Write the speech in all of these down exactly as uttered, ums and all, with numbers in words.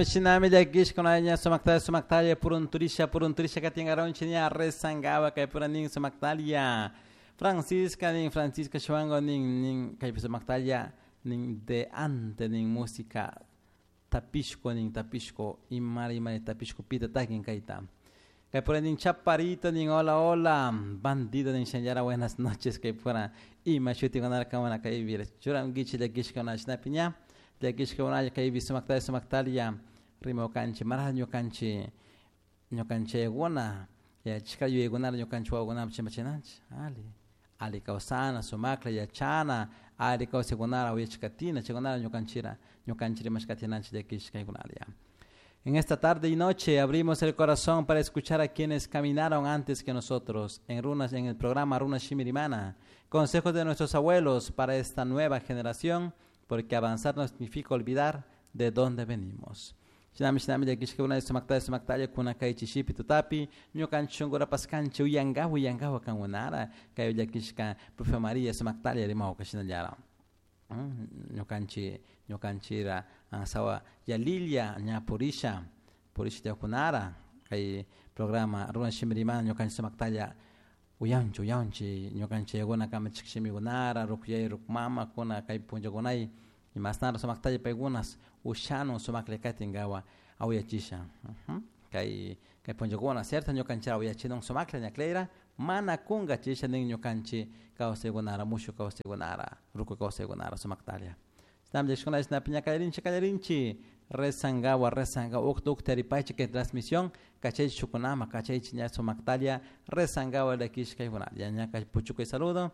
Shinami llakishkuna sumaktalla sumaktalla purunturisha purunturisha katingaronchi ña rezangawa kay pura nin sumaktalla Francisca nin Francisca Shuango nin nin kay sumaktalla nin de ante nin música tapishko nin tapishko imara imara tapishko pita takin kayta kay pura nin chaparito nin hola hola bandido nin shanllara buenas noches kay pura ima shutikunara kamana kaypi churankichik llakishkuna shinapi ña llakishkuna kaypi sumaktalla sumaktalla rimakanchik mara ñukanchik ñukanchikkuna yachashka yuyaykunara ñukanchik wawakunapi chimpachinanchik ali ali kawsana sumakla yachana ali kawsaykunara uyachikatina chaykunara ñukanchira ñukanchik rimashkatinanchik llakishkaykunara. En esta tarde y noche abrimos el corazón para escuchar a quienes caminaron antes que nosotros en runas en el programa Runa Shimirimana, consejos de nuestros abuelos para esta nueva generación, porque avanzar no significa olvidar de dónde venimos. Shinami shinami llakishkuna sumaktalla sumaktalla kuna kay chishipi tutapi ñukanchik shunkura paskanchik uyankawa uyankawa kankunara kay llakishka profe María sumaktalla rimawka shinallara ñukanchik ñukanchira sawa yalilla ña purisha purisha tiyakunara kay programa Runa Shimirimana ñukanchik sumaktalla uyanchik uyanchik ñukanchik yakuna kamachik shimikunara rukuyay rukmamakuna kay punllakunay imasnara sumaktalla paykunas ushanun sumaklla katinkawa awayachisha kay kay punllakuna cierto ñukanchik awayachinun sumaklla ñaklayra mana kunkachisha nin ñukanchik kawsaykunara mushuk kawsaykunara ruku kawsaykunara sumaktalla shinami llakishkuna shinapi ña kallarinchik kallarinchik rezangawa rezangawa ukta ukta taripaychik kay transmisión kachaychik shukunama kachaychik ña sumaktalla rezangawa llakishkaykunalla ña kay puchukay saludo.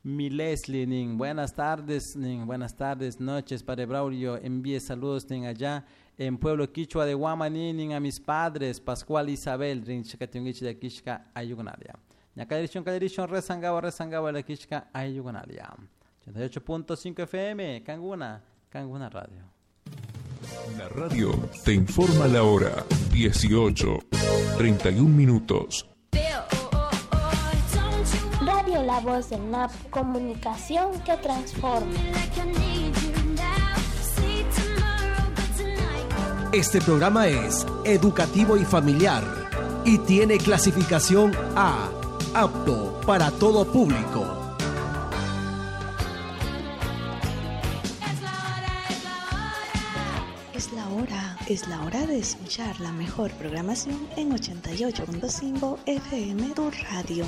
Mi Leslie nin buenas tardes nin buenas tardes noches Padre Braulio envíe saludos nin allá en pueblo quichua de Guamaní nin a mis padres Pascual Isabel rin chikatungichi llakishka ayukunalia ña kallarishun kallarishun rezangawa rezangawa llakishka ayukunalia ochenta y ocho punto cinco F M Canguna Canguna Radio. La radio te informa la hora dieciocho, treinta y un minutos. Radio La Voz del Napo, comunicación que transforma. Este programa es educativo y familiar y tiene clasificación A, apto para todo público. Es la hora, es la hora de escuchar la mejor programación en ochenta y ocho punto cinco F M, tu radio.